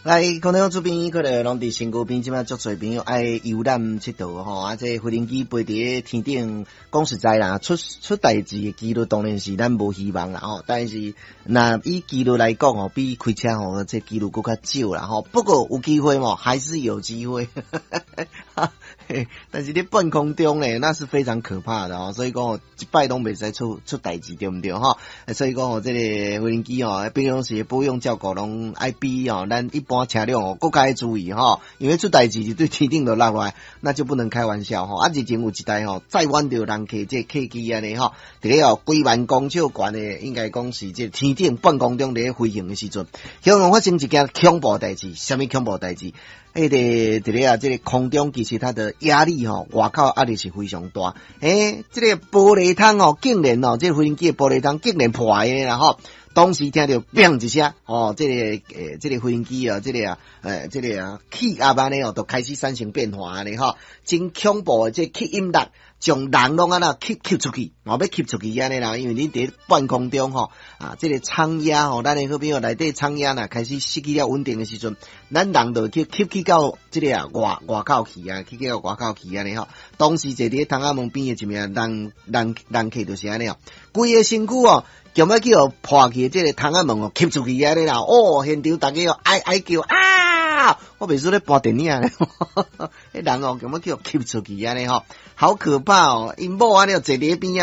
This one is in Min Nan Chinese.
來，空中這邊可能攏佇身軀邊，這擺足濟朋友愛遊覽𨑨迌吼，啊，這飛行機飛佇天頂，講實在啦，出代誌的機率當然是咱無希望啦吼，但是若以機率來講吼，比開車吼，這機率閣較少啦吼。不過有機會無，還是有機會。但是佇半空中咧，那是非常可怕的哦。所以講一擺攏袂使出代誌，對毋對吼？所以講吼，這個飛行機吼，平常時保養照顧攏愛比吼咱一般車輛哦，閣較愛注意吼，因為出代誌就對天頂就落來，那就不能開玩笑吼。啊，日前有一台吼載滿著人客這客機按呢吼，佇咧哦幾萬公尺懸的，應該講是這天頂半空中佇咧飛行的時陣，向發生一件恐怖代誌，啥物恐怖代誌？彼個佇咧啊，這個空中其實它的壓力吼，外口壓力是非常大。欸，這個玻璃窗哦，竟然哦，這個飛行機的玻璃窗竟然破的啦吼！當時聽著砰一聲，哦，這個飛行機啊，這個啊，氣壓按呢哦，就開始產生變化按呢吼，真恐怖的這吸引力，將人攏按呢吸吸出去，哦，欲吸出去按呢啦，因為你佇半空中吼，啊，這個艙壓吼，咱的好朋友內底艙壓若開始失去了穩定的時陣，咱人就去吸去到這個啊外口去啊，去到外口去按呢吼。當時坐佇窗仔門邊的一名人客就是按呢哦，規个身軀哦，強欲去予破去這個窗仔門哦，吸出去按呢啦，哦，現場逐家哦哀哀叫啊！我袂輸咧播電影咧，彼人哦，強欲去予吸出去按呢吼，好可怕哦！𪜶某按呢坐佇彼邊仔。